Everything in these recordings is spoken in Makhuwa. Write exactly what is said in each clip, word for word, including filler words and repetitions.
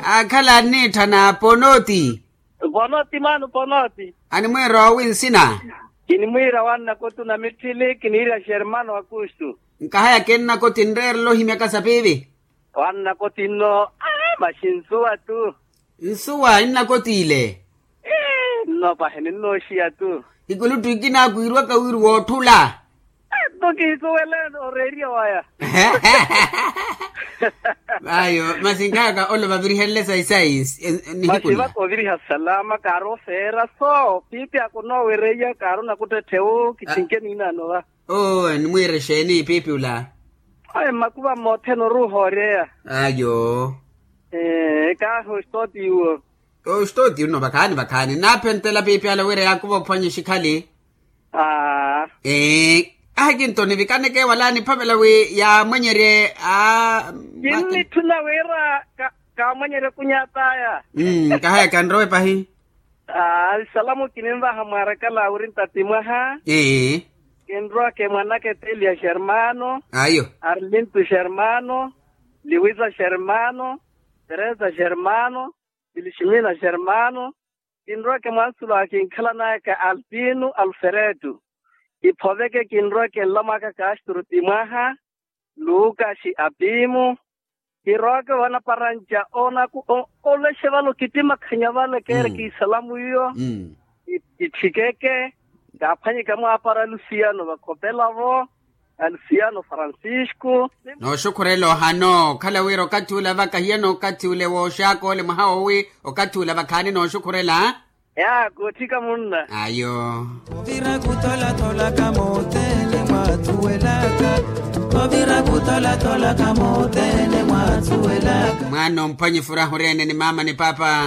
Aakhala anniitthana ponoti. Ponoti mwaano ponoti. Animwiira owi nsina? Kinimwiira wanna kotu na mitthili kiniirya xermano akustu. Nkahaya kinnakoti nreerela ohimyaka sapiivi. Wanna koti nno. Maxi nsuwa tu. Nsuwa innakotiile. Nno pahi ninnooxiya tu. Ikuluttu ikinaakwiirwaka wiri woottula. Nto kiisuwele oreeriya waya. Ayo masi nkayaka olo vavirihenle sayi sayi. Nihikula masi vakoviriha salama kaari ofeera so piipi ako noowereiya kaari onakuttetthe wu kithinke niinaano va. Oo animwiire exeeni piipi ula? Ayi mmakuva mmothene oruuha oreya. Ayo. Kaahi ostooti iwo. Ostooti unno vakhaani vakhaani nnaaphentela piipi ala wira yaakuva ophwanya exikhali. Ahi kintoni vikaneke wala niphavela wi yaamwenyerye. Kinnitthuna wira kaamwenyerye kunyataya. Nkahaya kanrowe pahi. Nsalamu kininvaha mwarakala wiri ntati mwaha. Kinrowaka emwanaka eteliya xermano. Ayo. Arlintu xermano. Liwisa xermano. Teresa xermano. Filiximina xermano. Kinrowaka emwansulo akinkhalanayaka altino alfereto. Kiphoveke kinrowaka enlamwaka kastro ti mwaha. Lukaxi apimu. Kirowaka vanaparanca onaku olexe vale okitimakhanya vale keereke isalamu iyo. Kitthikeke. Kaaphwanyeke amwaapara alusiyano vakhopelavo. Alusiyano francisco. Nooxukhurela ohano okhala wira okathi ula vaka hiya nookathi ule wooxaaka ole mwaha woowi. Okathi ula vakhaani nooxukhurela. Yaa kootthika munna. Ayo. Ovira kutolatolaka mothene mwaathuwelaka. Ovira kutolatolaka mothene mwaathuwelaka. Mwaana omphwanya efuraha oreene ni maama ni paapa.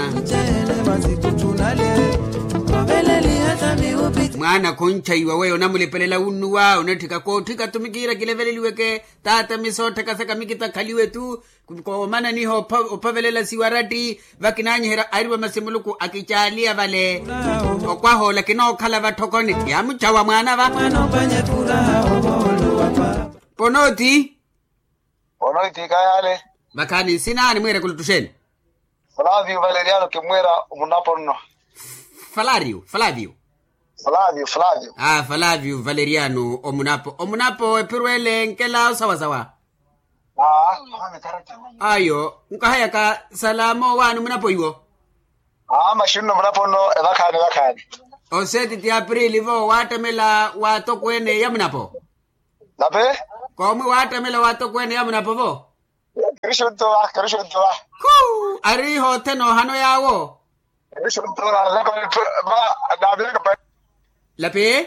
Mwaana khunchaiwa weyo onamulipelela wunnuwa onatthika kootthika tumikiira kileveleliweke. Taata misoottheka saka mikitakhaliwe tu. Koomananiha ophavelela siwaratti. Vakinanyiherya ariwa masi muluku akicaaliya vale. Okwahoola kinookhala vatthokoni. Yaamuchawa mwaana va. Ponooti. Ponooti kayale. Vakhaani nsina animwiire kuluttuxeni? Flavio valeriano kimwiira omunapo nno. Flavio flavio. Flavio flavio. Flavio valeriano omunapo omunapo ephiro ele nkela osawasawa. Ayo nkahayaka salamo waani omunapo iwo? Aa maxi nno omunapo nno evakhaani evakhaani. Oseeti ti aprili vo waattamela waatokweene ya munapo. Nape. Koomwi waattamela waatokweene ya munapo vo. Kiri xuntuwa kiri xuntuwa. Khu ari iho othene ohano yaawo. Kiri xuntuwa. Lapi.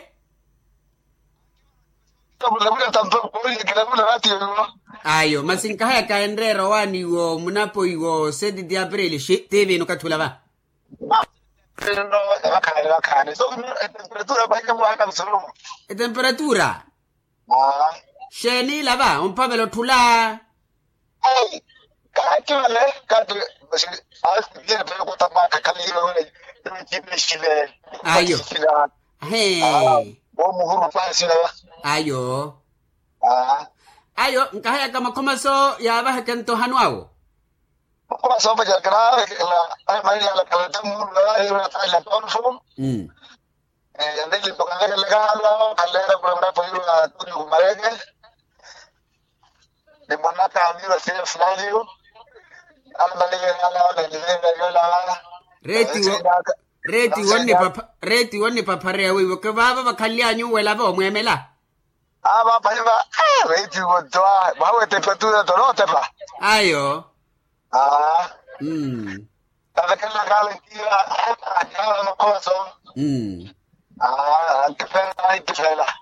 Ayo masi nkahayaka enreera owaani iwo munapo iwo seti ti aprili xi ti viino okathi ula va. Vakhaani vakhaani so etemperatura pahike mwaaka msulumu. Etemperatura. Xeeni ila va omphavela otthula? Ai. Kaati vale kaati. Ayo. Ayo. Ayo nkahayaka makhomaso yaavaheke nto ohano awo. Makhomaso awo pacarakela. Ayo maiyalakala tamuulu ayo. Yandeele mpaka nlekelekala. Khaleera kulombela poyirwa tuni kumareke. Ni mwanaka amiru asiye flavio. Alamaliye ala wala nilenga yola wala. Reeti wo. Reeti wo nnipaphareya weiwo ke vaava vakhanly'anyu wela voomweemela. Aa vaaphahiva. Reeti wo twa mwaha w'etepetula tolootepa. Ayo. Aa. Tavekelelaka alenkiya. Amakhomaso. Aa ankifeela ankifeela.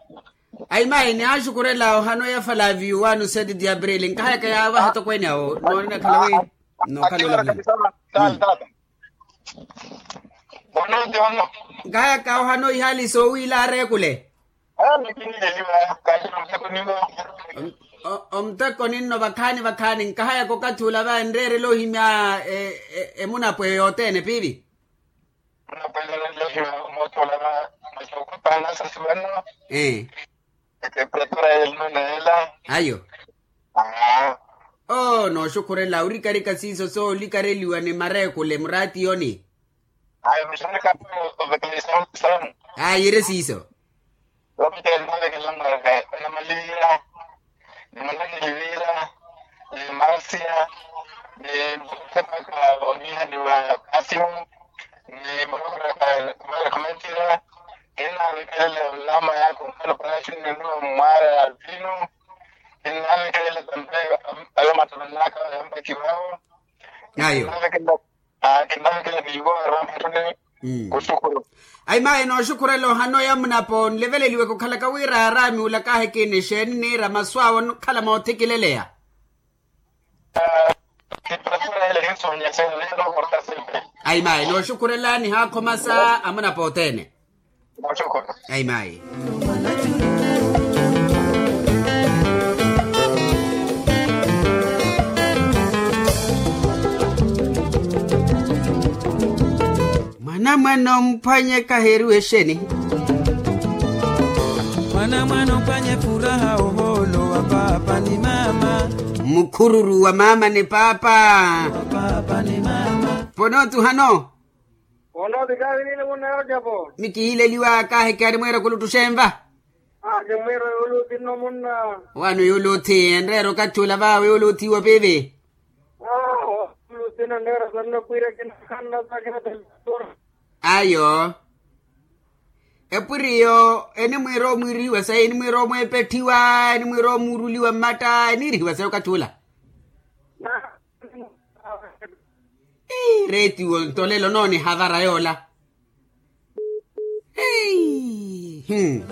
Ayi mayi nihaaxukhurela ohano ya falaviyu waani oseeti ti aprili nkahayaka yaavaha etokweene awo noonenakhala wi. Nookhala olavulani. Nkahayaka ohano ihaali soowiila areekule. Omuteko ninno vakhaani vakhaani nkahayaka okathi ula va enreerela ohimya emunapwe yothene piivi. Onapwelela nlehiwa mootthola va masi okhupana sasi vanno. Etemperatura yelino neela. Ayo. Aa. Oo nooxukhurela orikarika siiso soolikareliwa ni mareekule muraatiyoni. Ayo mixaraka. Ovekela isamu isamu. Ayi ere siiso. Ovekela navekela mwaraka. Namaliira. Ni mwanani livira. Ni marsia. Ni sepaka onihani wa kasimu. Ni morokoraka mara kumentira. Kinavekelela olama yako mfano kuna shini nduwa mwara alvinu. Kinavekelela tampe. Ayo matamanaka yampa kiwao. Ayo. Kinavekelela. Ayi mayi nooxukhurela ohana oya munapo nleveleliweke okhalaka wira araami ula kaahekina exeeni niira masu awe onokhala moothikileleya. Ayi mayi nooxukhurela nihaakhomasa amunapo othene. Ayi mayi. Mwanamwana omphwanye kaheeriwa exeni. Mwanamwana omphwanye furaha ohoolo wa paapa ni maama. Mukhururu wa maama ni paapa. Wa paapa ni maama. Ponootuhano. Onoovikaavinile munna yojapo. Mikihileliwa kaaheke animweera kuluttuxenva. Animweera yoluthi nno munna. Wano yoluthi enreera okathi ula vawe yoluthi wa pivi. Awo. Luthina nneera sanna pwira kinakanna sakina telesora. Ayo. Epwiriyo enimwiira omwiirihiwa sayi enimwiira omweepetthiwa enimwiira omuuruliwa mmatta eniirihiwa sayi okathi ula. Ii reetiwo ntolelo noonihavara yoola. Hei.